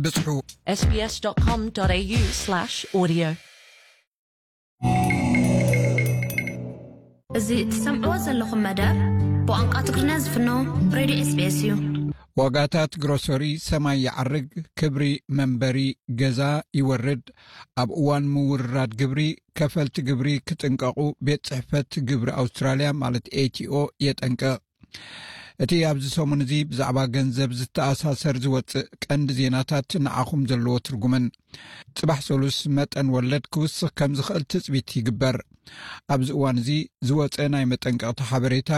ብጽሑ። S B S dot com dot A U slash audio. እዚ እትሰምዕዎ ዘለኹም መደብ ብቋንቋ ትግርኛ ዝፍኖ ሬድዮ S B S እዩ። ዋጋታት ግሮሰሪ ሰማይ ይዓርግ፣ ክብሪ መንበሪ ገዛ ይወርድ። ኣብ እዋን ምውርራድ ግብሪ፣ ከፈልቲ ግብሪ ክጥንቀቑ ቤት ጽሕፈት ግብሪ ኣውስትራልያ ማለት A T O የጠንቅቕ። እቲ ኣብዚ ሰሙን እዚ ብዛዕባ ገንዘብ ዝተኣሳሰር ዝወጽእ ቀንዲ ዜናታት ንዓኹም ዘለዎ ትርጉምን። ጽባሕ ሰሉስ መጠን ወለድ ክውስኽ ከም ዝኽእል ትጽቢት ይግበር። ኣብዚ እዋን እዚ ዝወጸ ናይ መጠንቀቕታ ሓበሬታ፣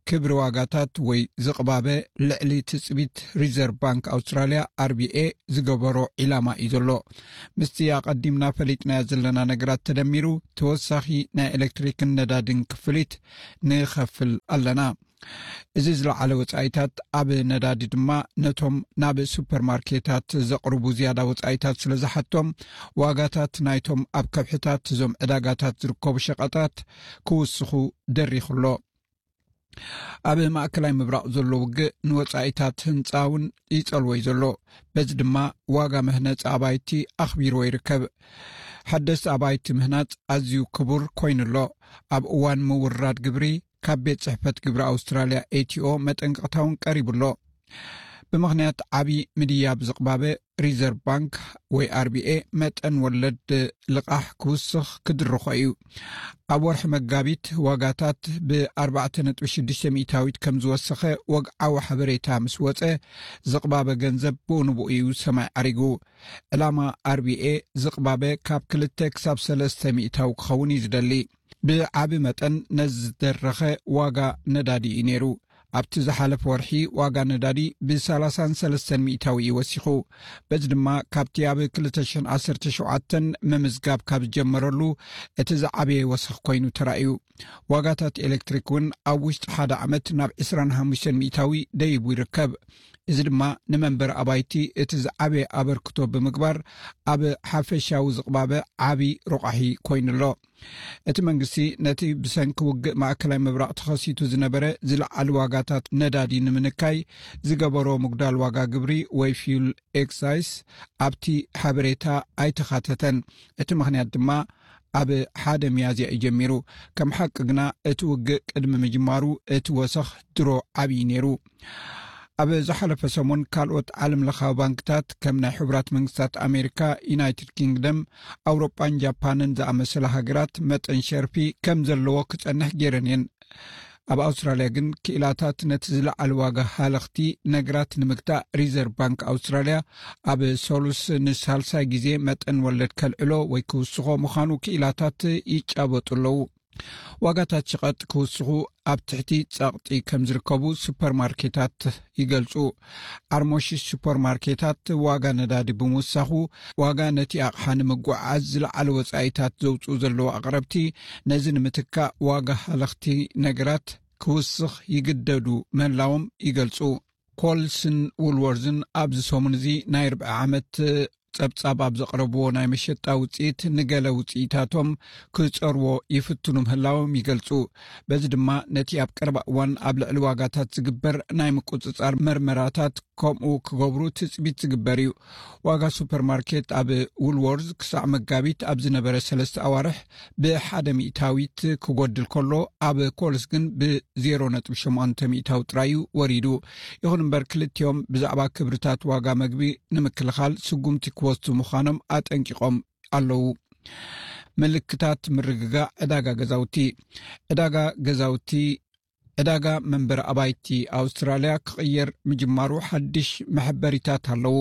ክብሪ ዋጋታት ወይ ዝቕባበ ልዕሊ ትጽቢት ሪዘርቭ ባንክ ኣውስትራልያ፣ R B A፣ ዝገበሮ ዒላማ እዩ ዘሎ። ምስቲ ኣቐዲምና ፈሊጥናዮ ዘለና ነገራት ተደሚሩ፣ ተወሳኺ ናይ ኤሌክትሪክን ነዳድን ክፍሊት ንኸፍል ኣለና። እዚ ዝለዓለ ወጻኢታት ኣብ ነዳዲ ድማ ነቶም ናብ ሱፐርማርኬታት ዘቕርቡ ዝያዳ ወጻኢታት ስለ ዝሓቶም፣ ዋጋታት ናይቶም ኣብ ከብሕታት እዞም ዕዳጋታት ዝርከቡ ሸቐጣት ክውስኹ ደሪኹ ኣሎ። ኣብ ማእከላይ ምብራቕ ዘሎ ውግእ ንወጻኢታት ህንጻ እውን ይጸልዎ እዩ ዘሎ። በዚ ድማ ዋጋ መህነጺ ኣባይቲ ኣኽቢርዎ ይርከብ። ሓደስቲ ኣባይቲ ምህናጽ ኣዝዩ ክቡር ኮይኑ ኣሎ። ኣብ እዋን ምውርራድ ግብሪ፣ ካብ ቤት ጽሕፈት ግብሪ ኣውስትራልያ A T O መጠንቀቕታ እውን ቀሪቡ ኣሎ። ብምኽንያት ዓቢ ምድያብ ዝቕባበ፣ ሪዘርቭ ባንክ ወይ R B A መጠን ወለድ ልቓሕ ክውስኽ ክድርኾ እዩ። ኣብ ወርሒ መጋቢት ዋጋታት ብ ኣርባዕተ ነጥቢ ሽዱሽተ ሚእታዊት ከም ዝወሰኸ ወግዓዊ ሓበሬታ ምስ ወጸ፣ ዝቕባበ ገንዘብ ብኡ ንብኡ እዩ ሰማይ ዓሪጉ። ዕላማ R B A ዝቕባበ ካብ ክልተ ክሳብ ሰለስተ ሚእታዊ ክኸውን እዩ ዝደሊ። ብዓቢ መጠን ነዚ ዝደረኸ ዋጋ ነዳዲ እዩ ነይሩ። ኣብቲ ዝሓለፈ ወርሒ ዋጋ ነዳዲ ብ ሰላሳን ሰለስተን ሚእታዊ እዩ ወሲኹ። በዚ ድማ ካብቲ ኣብ ክልተ ሽሕን ዓሰርተ ሸውዓተን ምምዝጋብ ካብ ዝጀመረሉ እቲ ዝዓበየ ወሰኽ ኮይኑ ተራእዩ። ዋጋታት ኤሌክትሪክ እውን ኣብ ውሽጢ ሓደ ዓመት ናብ ዕስራን ሓሙሽተን ሚእታዊ ደይቡ ይርከብ። እዚ ድማ ንመንበሪ ኣባይቲ እቲ ዝዓበየ ኣበርክቶ ብምግባር፣ ኣብ ሓፈሻዊ ዝቕባበ ዓቢ ሮቋሒ ኮይኑ ኣሎ። እቲ መንግስቲ ነቲ ብሰንኪ ውግእ ማእከላይ ምብራቕ ተኸሲቱ ዝነበረ ዝለዓሉ ዋጋታት ነዳዲ ንምንካይ ዝገበሮ ምጉዳል ዋጋ ግብሪ ወይ ፊውል ኤክሳይስ ኣብቲ ሓበሬታ ኣይተኻተተን። እቲ ምኽንያት ድማ ኣብ ሓደ ሚያዝያ እዩ ጀሚሩ። ከም ሓቂ ግና፣ እቲ ውግእ ቅድሚ ምጅማሩ እቲ ወሰኽ ድሮ ዓብዪ ነይሩ። ኣብ ዝሓለፈ ሰሙን፣ ካልኦት ዓለም ለኻዊ ባንክታት፣ ከም ናይ ሕቡራት መንግስታት ኣሜሪካ፣ ዩናይትድ ኪንግደም፣ ኣውሮጳን ጃፓንን ዝኣመሰላ ሃገራት፣ መጠን ሸርፊ ከም ዘለዎ ክጸንሕ ገይረን እየን። ኣብ ኣውስትራልያ ግን፣ ክኢላታት ነቲ ዝለዓለ ዋጋ ሃለኽቲ ነገራት ንምግታእ፣ ሪዘርቭ ባንክ ኣውስትራልያ ኣብ ሰሉስ ንሳልሳይ ግዜ መጠን ወለድ ከልዕሎ ወይ ክውስኾ ምዃኑ ክኢላታት ይጫበጡ ኣለዉ። ዋጋታት ሸቐጥ ክውስኹ ኣብ ትሕቲ ጸቕጢ ከም ዝርከቡ ሱፐርማርኬታት ይገልጹ። ኣርሞሺስ ሱፐርማርኬታት ዋጋ ነዳዲ ብምውሳኹ፣ ዋጋ ነቲ ኣቕሓ ንምጉዕዓዝ ዝለዓለ ወጻኢታት ዘውጽኡ ዘለዉ ኣቕረብቲ፣ ነዚ ንምትካእ ዋጋ ሃለኽቲ ነገራት ክውስኽ ይግደዱ ምህላዎም ይገልጹ። ኮልስን ውልወርዝን ኣብዚ ሰሙን እዚ ናይ ርብዒ ዓመት ጸብጻብ ኣብ ዘቕረብዎ ናይ መሸጣ ውጽኢት፣ ንገለ ውጽኢታቶም ክጸርዎ ይፍትኑ ምህላዎም ይገልጹ። በዚ ድማ፣ ነቲ ኣብ ቀረባ እዋን ኣብ ልዕሊ ዋጋታት ዝግበር ናይ ምቁጽጻር መርመራታት ከምኡ ክገብሩ ትጽቢት ዝግበር እዩ። ዋጋ ሱፐርማርኬት ኣብ ውልወርዝ ክሳዕ መጋቢት ኣብ ዝነበረ ሰለስተ ኣዋርሕ ብሓደ ሚእታዊት ክጎድል ከሎ፣ ኣብ ኮልስ ግን ብ ዜሮ ነጥቢ ሸሞንተ ሚእታዊ ጥራይ እዩ ወሪዱ። ይኹን እምበር፣ ክልቲኦም ብዛዕባ ክብርታት ዋጋ መግቢ ንምክልኻል ስጉምቲ ክወስዱ ምዃኖም ኣጠንቂቖም ኣለዉ። ምልክታት ምርግጋእ ዕዳጋ ገዛውቲ። ዕዳጋ ገዛውቲ፣ ዕዳጋ መንበሪ ኣባይቲ ኣውስትራልያ ክቕየር ምጅማሩ ሓድሽ መሐበሪታት ኣለዉ።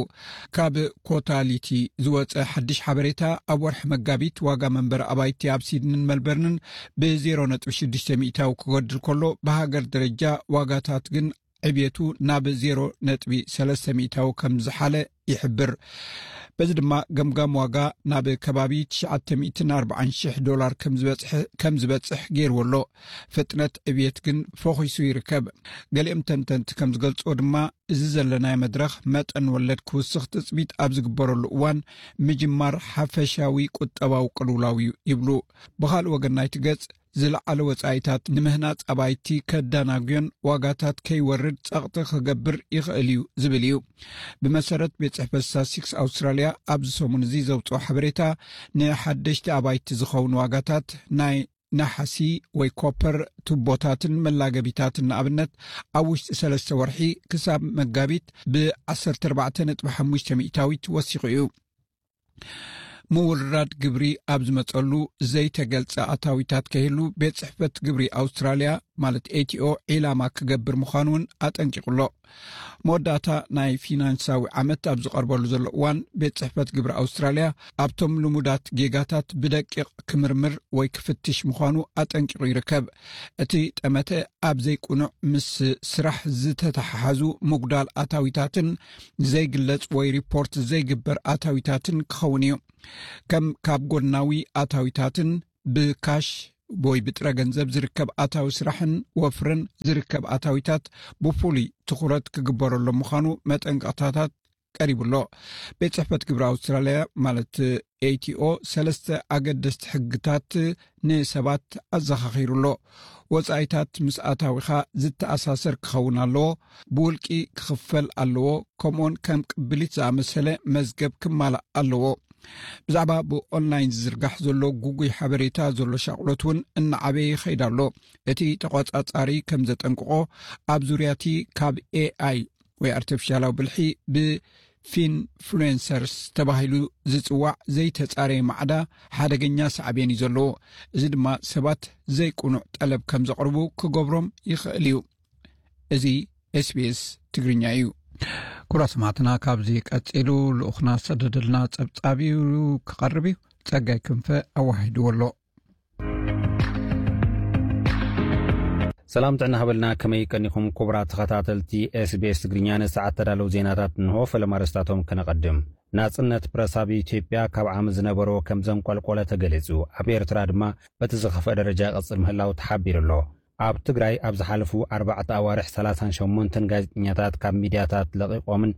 ካብ ኮታሊቲ ዝወጸ ሓድሽ ሓበሬታ፣ ኣብ ወርሒ መጋቢት ዋጋ መንበሪ ኣባይቲ ኣብ ሲድንን መልበርንን ብ ዜሮ ነጥቢ ሽዱሽተ ሚእታዊ ክጎድል ከሎ፣ ብሃገር ደረጃ ዋጋታት ግን ዕብየቱ ናብ ዜሮ ነጥቢ ሰለስተ ሚእታዊ ከም ዝሓለ ይሕብር። በዚ ድማ፣ ገምጋም ዋጋ ናብ ከባቢ ትሽዓተ ሚእትን ኣርባዓን ሽሕ ዶላር ከም ዝበጽሕ፣ ከም ዝበጽሕ ገይርዎ ኣሎ። ፍጥነት ዕብየት ግን ፈኺሱ ይርከብ። ገሊኦም ተንተንቲ ከም ዝገልጽዎ ድማ፣ እዚ ዘለናዮ መድረኽ መጠን ወለድ ክውስኽ ትጽቢት ኣብ ዝግበረሉ እዋን፣ ምጅማር ሓፈሻዊ ቁጠባዊ ቅልውላው እዩ ይብሉ። ብኻልእ ወገን ናይቲ ገጽ፣ ዝለዓለ ወጻኢታት ንምህናጽ ኣባይቲ ከዳናጉዮን ዋጋታት ከይወርድ ጸቕጢ ክገብር ይኽእል እዩ ዝብል እዩ። ብመሰረት ቤት ጽሕፈት ስታትስቲክስ ኣውስትራልያ፣ ኣብዚ ሰሙን እዚ ዘውጽኦ ሓበሬታ፣ ንሓደሽቲ ኣባይቲ ዝኸውን ዋጋታት ናይ ነሓሲ ወይ ኮፐር ቱቦታትን መላገቢታትን ንኣብነት ኣብ ውሽጢ ሰለስተ ወርሒ ክሳብ መጋቢት ብ14.5% ወሲኹ እዩ። ምውርራድ ግብሪ ኣብ ዝመጸሉ ዘይተገልጸ ኣታዊታት ከይህሉ ቤት ጽሕፈት ግብሪ ኣውስትራልያ ማለት ኤቲኦ ዒላማ ክገብር ምዃኑ እውን ኣጠንቂቑ ኣሎ። መወዳእታ ናይ ፊናንሳዊ ዓመት ኣብ ዝቐርበሉ ዘሎ እዋን ቤት ጽሕፈት ግብሪ ኣውስትራልያ ኣብቶም ልሙዳት ጌጋታት ብደቂቕ ክምርምር ወይ ክፍትሽ ምዃኑ ኣጠንቂቑ ይርከብ። እቲ ጠመተ ኣብ ዘይቁኑዕ ምስ ስራሕ ዝተተሓሓዙ ምጉዳል ኣታዊታትን ዘይግለጽ ወይ ሪፖርት ዘይግበር ኣታዊታትን ክኸውን እዩ። ከም ካብ ጎድናዊ ኣታዊታትን ብካሽ ወይ ብጥረ ገንዘብ ዝርከብ ኣታዊ ስራሕን ወፍርን ዝርከብ ኣታዊታት ብፍሉይ ትኹረት ክግበረሎም ምዃኑ መጠንቀቕታታት ቀሪቡ ኣሎ። ቤት ጽሕፈት ግብሪ ኣውስትራልያ ማለት ኤቲኦ ሰለስተ ኣገደስቲ ሕግታት ንሰባት ኣዘኻኺሩ ኣሎ። ወጻኢታት ምስ ኣታዊኻ ዝተኣሳሰር ክኸውን ኣለዎ። ብውልቂ ክኽፈል ኣለዎ። ከምኡውን ከም ቅብሊት ዝኣመሰለ መዝገብ ክማላእ ኣለዎ። ብዛዕባ ብኦንላይን ዝዝርጋሕ ዘሎ ጉጉይ ሓበሬታ ዘሎ ሻቕሎት እውን እናዓበየ ይኸይድ ኣሎ። እቲ ተቖጻጻሪ ከም ዘጠንቅቖ፣ ኣብ ዙርያ እቲ ካብ ኤኣይ ወይ ኣርቲፊሻላዊ ብልሒ ብፊንፍሉንሰርስ ተባሂሉ ዝጽዋዕ ዘይተጻረየ ማዕዳ ሓደገኛ ሳዕቤን እዩ ዘለዎ። እዚ ድማ ሰባት ዘይቁኑዕ ጠለብ ከም ዘቕርቡ ክገብሮም ይኽእል እዩ። እዚ ኤስቢኤስ ትግርኛ እዩ። ክቡራት ሰማዕትና፣ ካብዚ ቀጺሉ ልኡኽና ዝሰደደልና ጸብጻብ እዩ ክቐርብ እዩ። ጸጋይ ክንፈ ኣወሃሂድዎ ኣሎ። ሰላም ጥዕና ሃበልና፣ ከመይ ቀኒኹም ክቡራት ተኸታተልቲ ኤስቢኤስ ትግርኛ? ንሰዓት ተዳለዉ ዜናታት እንሆ፣ ፈለማ ኣርእስታቶም ከነቐድም። ናጽነት ፕረስ ኣብ ኢትዮጵያ ካብ ዓሚ ዝነበሮ ከም ዘንቆልቆለ ተገሊጹ። ኣብ ኤርትራ ድማ በቲ ዝኸፍአ ደረጃ ይቐጽል ምህላው ተሓቢሩ ኣሎ። ኣብ ትግራይ ኣብ ዝሓለፉ ኣርባዕተ ኣዋርሕ ሰላሳን ሸሞንተን ጋዜጠኛታት ካብ ሚድያታት ለቒቖምን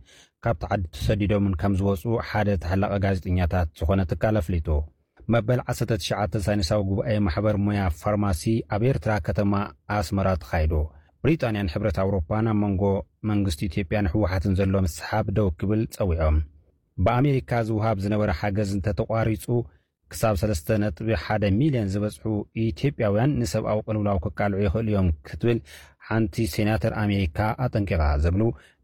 ካብ ተዓዲ ተሰዲዶምን ከም ዝወጹ ሓደ ተሓላቒ ጋዜጠኛታት ዝኾነ ትካል ኣፍሊጡ። መበል ዓሰርተ ትሽዓተ ሳይንሳዊ ጉባኤ ማሕበር ሞያ ፋርማሲ ኣብ ኤርትራ ከተማ ኣስመራ ተኻይዱ። ብሪጣንያን ሕብረት ኣውሮፓን ኣብ መንጎ መንግስቲ ኢትዮጵያን ህወሓትን ዘሎ ምስሓብ ደው ክብል ጸዊዖም። ብኣሜሪካ ዝውሃብ ዝነበረ ሓገዝ እንተተቋሪጹ፣ ክሳብ ሰለስተ ነጥቢ ሓደ ሚልዮን ዝበጽሑ ኢትዮጵያውያን ንሰብኣዊ ቅልውላው ክቃልዑ ይኽእሉ እዮም ክትብል ሓንቲ ሴናተር ኣሜሪካ ኣጠንቂቓ፣ ዝብሉ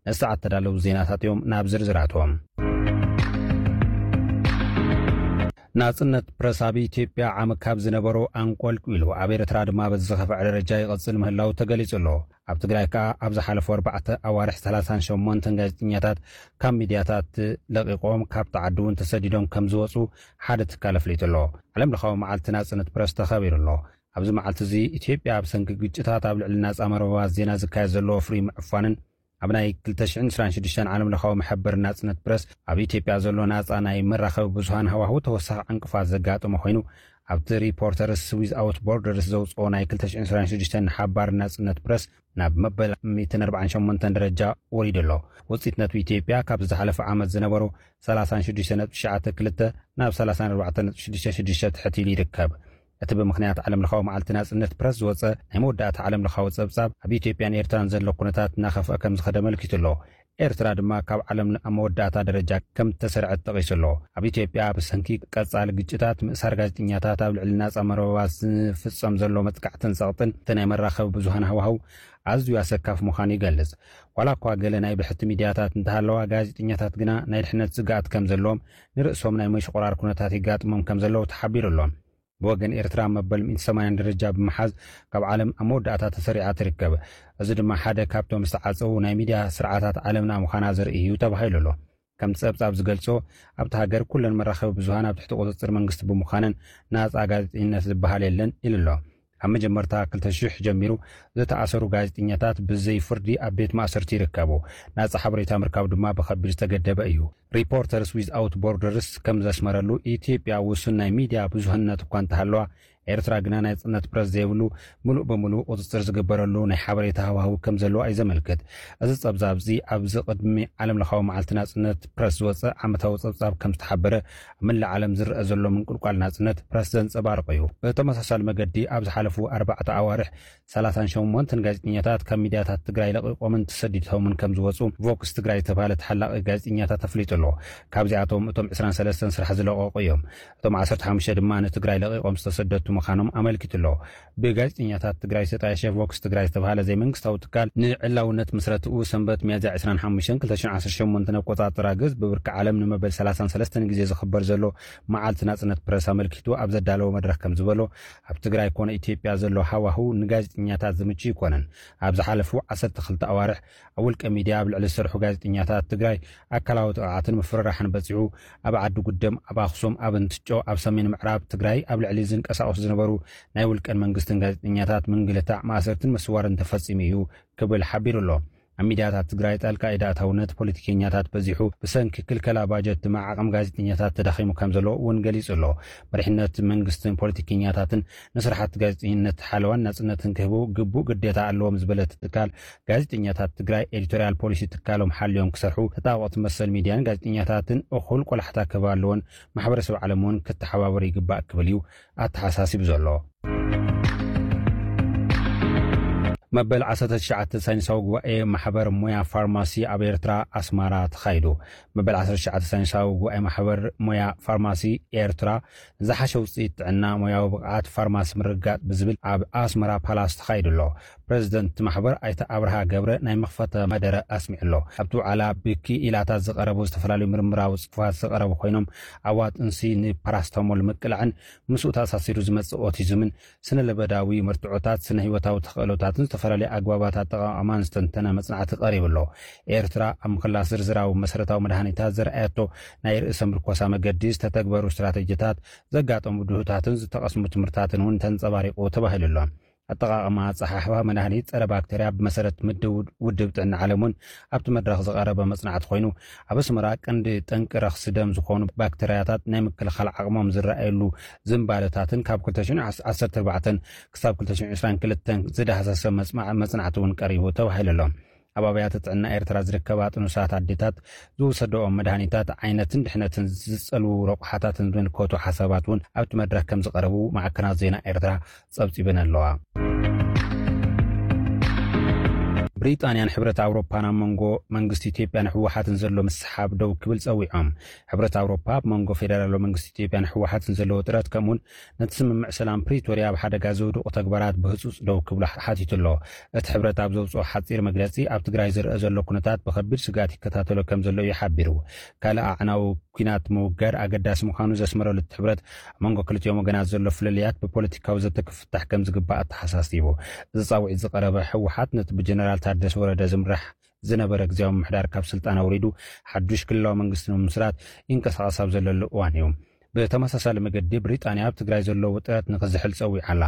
ንሰዓት ተዳለዉ ዜናታት እዮም። ናብ ዝርዝራቶም። ናጽነት ፕረስ ኣብ ኢትዮጵያ ዓሚ ካብ ዝነበሮ ኣንቆልቂሉ፣ ኣብ ኤርትራ ድማ በዚ ዝኸፍዐ ደረጃ ይቐጽል ምህላው ተገሊጹ ኣሎ። ኣብ ትግራይ ከኣ ኣብ ዝሓለፉ ኣርባዕተ ኣዋርሕ ሰላሳን ሸሞንተን ጋዜጠኛታት ካብ ሚድያታት ለቒቖም፣ ካብ ተዓዲ እውን ተሰዲዶም ከም ዝወጹ ሓደ ትካል ኣፍሊጡ ኣሎ። ዓለም ለኻዊ መዓልቲ ናጽነት ፕረስ ተኸቢሩ ኣሎ። ኣብዚ መዓልቲ እዚ ኢትዮጵያ ብሰንኪ ግጭታት ኣብ ልዕሊ ናጻ መርበባት ዜና ዝካየድ ዘሎ ፍሉይ ምዕፋንን ኣብ ናይ ክልተ ሽሕን ዕስራን ሽዱሽተን ዓለም ለኻዊ መሐበር ናጽነት ፕረስ ኣብ ኢትዮጵያ ዘሎ ናጻ ናይ መራኸቢ ብዙሃን ሃዋህው ተወሳኺ ዕንቅፋት ዘጋጠመ ኮይኑ፣ ኣብቲ ሪፖርተርስ ዊዝኣውት ቦርደርስ ዘውጽኦ ናይ ክልተ ሽሕን ዕስራን ሽዱሽተን ሓባር ናጽነት ፕረስ ናብ መበል ሚእትን ኣርባዓን ሸሞንተን ደረጃ ወሪዱ ኣሎ። ውጽኢት ነጥቢ ኢትዮጵያ ካብ ዝሓለፈ ዓመት ዝነበሩ ሰላሳን ሽዱሽተ ነጥቢ ትሽዓተ ክልተ ናብ ሰላሳን ኣርባዕተን ነጥቢ ሽዱሽተ ሽዱሽተ ትሕት ኢሉ ይርከብ። እቲ ብምኽንያት ዓለም ለኻዊ መዓልቲ ናጽነት ፕረስ ዝወጸ ናይ መወዳእታ ዓለም ለኻዊ ጸብጻብ፣ ኣብ ኢትዮጵያን ኤርትራን ዘሎ ኩነታት እናኸፍአ ከም ዝኸደ ኣመልኪቱ ኣሎ። ኤርትራ ድማ ካብ ዓለም ኣብ መወዳእታ ደረጃ ከም እተሰርዐት ጠቒሱ ኣሎ። ኣብ ኢትዮጵያ ብሰንኪ ቀጻሊ ግጭታት፣ ምእሳር ጋዜጠኛታት፣ ኣብ ልዕሊ ናጻ መርበባት ዝፍጸም ዘሎ መጥቃዕትን ጸቕጥን እቲ ናይ መራኸቢ ብዙሃን ሃዋህው ኣዝዩ ኣሰካፊ ምዃኑ ይገልጽ። ዋላ እኳ ገለ ናይ ብሕቲ ሚድያታት እንተሃለዋ፣ ጋዜጠኛታት ግና ናይ ድሕነት ስግኣት ከም ዘለዎም፣ ንርእሶም ናይ ምሽቑራር ኩነታት ይጋጥሞም ከም ዘለዉ ተሓቢሩ ኣሎ። ብወገን ኤርትራ መበል ሚእቲ ሰማንያን ደረጃ ብምሓዝ ካብ ዓለም ኣብ መወዳእታ ተሰሪዓ ትርከብ። እዚ ድማ ሓደ ካብቶም ዝተዓጸዉ ናይ ሚድያ ስርዓታት ዓለምና ምዃና ዘርኢ እዩ ተባሂሉ ኣሎ። ከምቲ ጸብጻብ ዝገልጾ፣ ኣብታ ሃገር ኩለን መራኸቢ ብዙሃን ኣብ ትሕቲ ቁጽጽር መንግስቲ ብምዃነን ናጻ ጋዜጠኝነት ዝበሃል የለን ኢሉ ኣሎ። ካብ መጀመርታ ክልተ ሽሕ ጀሚሩ ዝተኣሰሩ ጋዜጠኛታት ብዘይ ፍርዲ ኣብ ቤት ማእሰርቲ ይርከቡ። ናጻ ሓበሬታ ምርካብ ድማ ብኸቢድ ዝተገደበ እዩ። ሪፖርተርስ ዊዝኣውት ቦርደርስ ከም ዘስመረሉ፣ ኢትዮጵያ ውሱን ናይ ሚድያ ብዙህነት እኳ እንተሃለዋ፣ ኤርትራ ግና ናይ ጽነት ፕረስ ዘይብሉ፣ ምሉእ ብምሉእ ቁጽጽር ዝግበረሉ ናይ ሓበሬታ ሃዋህው ከም ዘለዋ እዩ ዘመልክት። እዚ ጸብጻብ እዚ ኣብዚ ቅድሚ ዓለም ለኻዊ መዓልቲ ናጽነት ፕረስ ዝወጸ ዓመታዊ ጸብጻብ ከም ዝተሓበረ፣ ኣብ መላእ ዓለም ዝረአ ዘሎ ምንቁልቋል ናጽነት ፕረስ ዘንጸባርቕ እዩ። ብተመሳሳሊ መገዲ ኣብ ዝሓለፉ ኣርባዕተ ኣዋርሕ ሰላሳን ሸሞንተን ጋዜጠኛታት ካብ ሚድያታት ትግራይ ለቒቖምን ተሰዲዶምን ከም ዝወጹ ቮክስ ትግራይ ዝተባህለ ተሓላቒ ጋዜጠኛታት ኣፍሊጡ ኣሎ። ካብዚኣቶም እቶም ዕስራን ሰለስተን ስራሕ ዝለቐቑ እዮም። እቶም ዓሰርተ ሓሙሽተ ድማ ንትግራይ ለቒቖም ዝተሰደቱ ምዃኖም ኣመልኪቱ ኣሎ። ብጋዜጠኛታት ትግራይ ዝተጣየሸ ቮክስ ትግራይ ዝተባህለ ዘይመንግስታዊ ትካል ንዕላውነት ምስረትኡ ሰንበት ሚያዝያ ዕስራን ሓሙሽተን ክልተ ሽሕን ዓሰርተ ሸሞንተን ኣቆጻጽራ ገዝ ብብርኪ ዓለም ንመበል ሰላሳን ሰለስተን ግዜ ዝኽበር ዘሎ መዓልቲ ናጽነት ፕረስ ኣመልኪቱ ኣብ ዘዳለዎ መድረኽ ከም ዝበሎ፣ ኣብ ትግራይ ኮነ ኢትዮጵያ ዘሎ ሃዋህው ንጋዜጠኛታት ዝምቹ ኣይኮነን። ኣብ ዝሓለፉ ዓሰርተ ክልተ ኣዋርሕ ኣብ ውልቀ ሚድያ ኣብ ልዕሊ ዝሰርሑ ጋዜጠኛታት ትግራይ ኣካላዊ ጥቕዓትን ምፍርራሕን በፂሑ። ኣብ ዓዲ ጉደም፣ ኣብ ኣኽሱም፣ ኣብ እንትጮ፣ ኣብ ሰሜን ምዕራብ ትግራይ ኣብ ልዕሊ ዝንቀሳቐሱ ዝነበሩ ናይ ውልቀን መንግስትን ጋዜጠኛታት ምንግልታዕ፣ ማእሰርትን ምስዋርን ተፈፂሙ እዩ ክብል ሓቢሩ ኣሎ። ኣብ ሚድያታት ትግራይ ጣልቃ ኢድ ኣእታውነት ፖለቲከኛታት በዚሑ፣ ብሰንኪ ክልከላ ባጀት ድማ ዓቕሚ ጋዜጠኛታት ተዳኺሙ ከም ዘሎ እውን ገሊጹ ኣሎ። መሪሕነት መንግስትን ፖለቲከኛታትን ንስራሕቲ ጋዜጠኝነት ሓለዋን ናጽነትን ክህቡ ግቡእ ግዴታ ኣለዎም ዝበለት ትካል፣ ጋዜጠኛታት ትግራይ ኤዲቶርያል ፖሊሲ ትካሎም ሓልዮም ክሰርሑ፣ ተጣበቕቲ መሰል ሚድያን ጋዜጠኛታትን እኹል ቆላሕታ ክህባ ኣለዎን፣ ማሕበረሰብ ዓለም እውን ክተሓባበር ይግባእ ክብል እዩ ኣተሓሳሲቡ ዘሎ። መበል ዓሰርተ ትሽዓተ ሳይንሳዊ ጉባኤ ማሕበር ሞያ ፋርማሲ ኣብ ኤርትራ ኣስመራ ተኻይዱ። መበል ዓሰርተ ትሽዓተ ሳይንሳዊ ጉባኤ ማሕበር ሞያ ፋርማሲ ኤርትራ፣ ዝሓሸ ውፅኢት ጥዕና፣ ሞያዊ ብቕዓት ፋርማሲ ምርግጋፅ ብዝብል ኣብ ኣስመራ ፓላስ ተኻይዱ ኣሎ። ፕረዚደንት ማሕበር ኣይተ ኣብርሃ ገብረ ናይ መኽፈተ መደረ ኣስሚዑ ኣሎ። ኣብቲ ውዓላ ብክኢላታት ዝቐረቡ ዝተፈላለዩ ምርምራዊ ጽሑፋት ዝቐረቡ ኮይኖም፣ ኣዋጥንሲ ንፓራስታሞል ምቅላዕን ምስኡ ተኣሳሲሩ ዝመጽእ ኦቲዝምን፣ ስነ ለበዳዊ መርትዖታት፣ ስነ ህይወታዊ ተኽእሎታትን ዝተፈላለዩ ኣግባባት ኣጠቓቕማን ዝተንተነ መጽናዕቲ ቀሪቡ ኣሎ። ኤርትራ ኣብ ምኽላስ ዝርዝራዊ መሰረታዊ መድሃኒታት ዘርኣየቶ ናይ ርእሰ ምርኮሳ መገዲ፣ ዝተተግበሩ ስትራተጂታት፣ ዘጋጠሙ ድሁታትን ዝተቐስሙ ትምህርታትን እውን ተንጸባሪቑ ተባሂሉ ኣሎ። ኣጠቓቕማ ኣጸሓሕፋ መድሃኒት ጸረ ባክተርያ ብመሰረት ምድብ ውድብ ጥዕና ዓለም እውን ኣብቲ መድረኽ ዝቐረበ መጽናዕቲ ኮይኑ፣ ኣብ ኣስመራ ቀንዲ ጠንቂ ረኽሲ ደም ዝኾኑ ባክተርያታት ናይ ምክልኻል ዓቕሞም ዝረኣየሉ ዝንባለታትን ካብ ክልተ ሽሕን ዓሰርተ ኣርባዕተን ክሳብ ክልተ ሽሕን ዕስራን ክልተን ዝዳህሰሰ መጽማዕ-፣ መጽናዕቲ እውን ቀሪቡ ተባሂሉ ኣሎ። ኣብ ኣብያተ ጥዕና ኤርትራ ዝርከባ ጥኑሳት ኣዴታት ዝወሰደኦም መድሃኒታት ዓይነትን ድሕነትን ዝጸልዉ ረቑሓታትን ዝምልከቱ ሓሳባት እውን ኣብቲ መድረኽ ከም ዝቐረቡ ማዕከናት ዜና ኤርትራ ጸብጺበን ኣለዋ። ብሪጣንያን ሕብረት ኣውሮፓን ኣብ መንጎ መንግስቲ ኢትዮጵያን ህወሓትን ዘሎ ምስሓብ ደው ክብል ጸዊዖም። ሕብረት ኣውሮፓ ኣብ መንጎ ፌደራላዊ መንግስቲ ኢትዮጵያን ህወሓትን ዘለዎ ጥረት፣ ከምኡውን ነቲ ስምምዕ ሰላም ፕሪቶርያ ኣብ ሓደጋ ዘውድቑ ተግባራት ብህጹጽ ደው ክብሉ ሓቲቱ ኣሎ። እቲ ሕብረት ኣብ ዘውጽኦ ሓጺር መግለጺ፣ ኣብ ትግራይ ዝረአ ዘሎ ኩነታት ብኸቢድ ስግኣት ይከታተሎ ከም ዘሎ እዩ ሓቢሩ። ካልእ ኣዕናዊ ኲናት ምውጋድ ኣገዳሲ ምዃኑ ዘስመረሉ እቲ ሕብረት፣ ኣብ መንጎ ክልቲኦም ወገናት ዘሎ ፍልልያት ብፖለቲካዊ ዘተ ክፍታሕ ከም ዝግባእ ኣተሓሳሲቡ። እዚ ጻውዒት ዝቐረበ ህወሓት ነቲ ብጀነራል ታደሰ ወረደ ዝምራሕ ዝነበረ ግዝያዊ ምምሕዳር ካብ ስልጣን ኣውሪዱ ሓዱሽ ክልላዊ መንግስቲ ንምምስራት ይንቀሳቐስ ኣብ ዘለሉ እዋን እዩ። ብተመሳሳሊ መገዲ ብሪጣንያ ኣብ ትግራይ ዘሎ ውጥረት ንኽዝሕል ጸዊዓ ኣላ።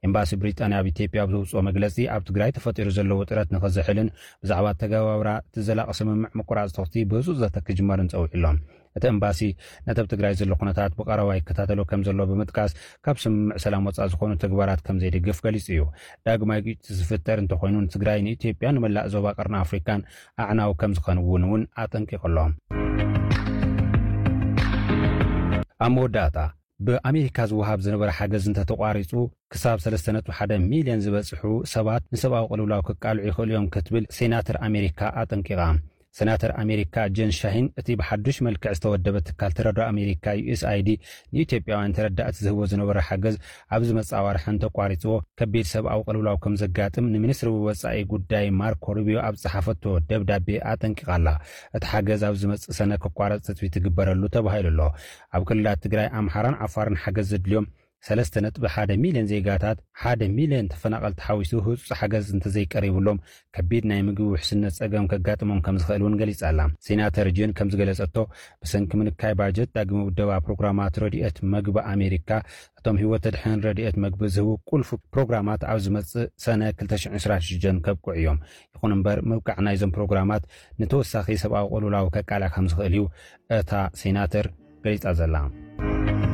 ኤምባሲ ብሪጣንያ ኣብ ኢትዮጵያ ኣብ ዘውጽኦ መግለጺ፣ ኣብ ትግራይ ተፈጢሩ ዘሎ ውጥረት ንኽዝሕልን ብዛዕባ ኣተገባብራ እቲ ዘላቒ ስምምዕ ምቁራጽ ተኹሲ ብህጹጽ ዘተ ክጅመርን ጸዊዑ ኣሎ። እቲ ኤምባሲ ነቲ ኣብ ትግራይ ዘሎ ኩነታት ብቐረባ ይከታተሎ ከም ዘሎ ብምጥቃስ፣ ካብ ስምምዕ ሰላም ወጻኢ ዝኾኑ ተግባራት ከም ዘይድግፍ ገሊጹ እዩ። ዳግማይ ግጭት ዝፍጠር እንተኾይኑ፣ ንትግራይ፣ ንኢትዮጵያ፣ ንመላእ ዞባ ቀርኒ ኣፍሪካን ኣዕናዊ ከም ዝኸውን እውን ኣጠንቂቑ ኣሎ። ኣብ መወዳእታ፣ ብኣሜሪካ ዝወሃብ ዝነበረ ሓገዝ እንተተቋሪጹ፣ ክሳብ ሰለስተ ነጥቢ ሓደ ሚልዮን ዝበጽሑ ሰባት ንሰብኣዊ ቅልውላው ክቃልዑ ይኽእሉ እዮም ክትብል ሴናተር ኣሜሪካ ኣጠንቂቓ። ሴናተር ኣሜሪካ ጀን ሻሂን፣ እቲ ብሓዱሽ መልክዕ ዝተወደበ ትካል ተረድኦ ኣሜሪካ፣ ዩ ኤስ ኣይ ዲ፣ ንኢትዮጵያውያን ተረዳእቲ ዝህቦ ዝነበረ ሓገዝ ኣብ ዝመጽእ ኣዋርሕ እንተቋሪጽዎ፣ ከቢድ ሰብኣዊ ቅልውላው ከም ዘጋጥም ንሚኒስትሪ ወጻኢ ጉዳይ ማርኮ ሩቢዮ ኣብ ዝጸሓፈቶ ደብዳቤ ኣጠንቂቓ ኣላ። እቲ ሓገዝ ኣብ ዝመጽእ ሰነ ክቋረጽ ትጽቢት ይግበረሉ ተባሂሉ ኣሎ። ኣብ ክልላት ትግራይ፣ ኣምሓራን ዓፋርን ሓገዝ ዘድልዮም ሰለስተ ነጥቢ ሓደ ሚልዮን ዜጋታት፣ ሓደ ሚልዮን ተፈናቐልቲ ሓዊሱ ህጹጽ ሓገዝ እንተዘይቀሪብሎም፣ ከቢድ ናይ ምግቢ ውሕስነት ጸገም ከጋጥሞም ከም ዝኽእል እውን ገሊጻ ኣላ። ሴናተር ጅን ከም ዝገለጸቶ፣ ብሰንኪ ምንካይ ባጀት ዳግመ ውደባ ፕሮግራማት ረድኤት መግቢ ኣሜሪካ፣ እቶም ህይወት ተድሕን ረድኤት መግቢ ዝህቡ ቁልፊ ፕሮግራማት ኣብ ዝመጽእ ሰነ ክልተ ሽሕን ዕስራን ሽዱሽተን ከብቅዑ እዮም። ይኹን እምበር፣ ምብቃዕ ናይዞም ፕሮግራማት ንተወሳኺ ሰብኣዊ ቅልውላው ከቃልዕ ከም ዝኽእል እዩ እታ ሴናተር ገሊጻ ዘላ።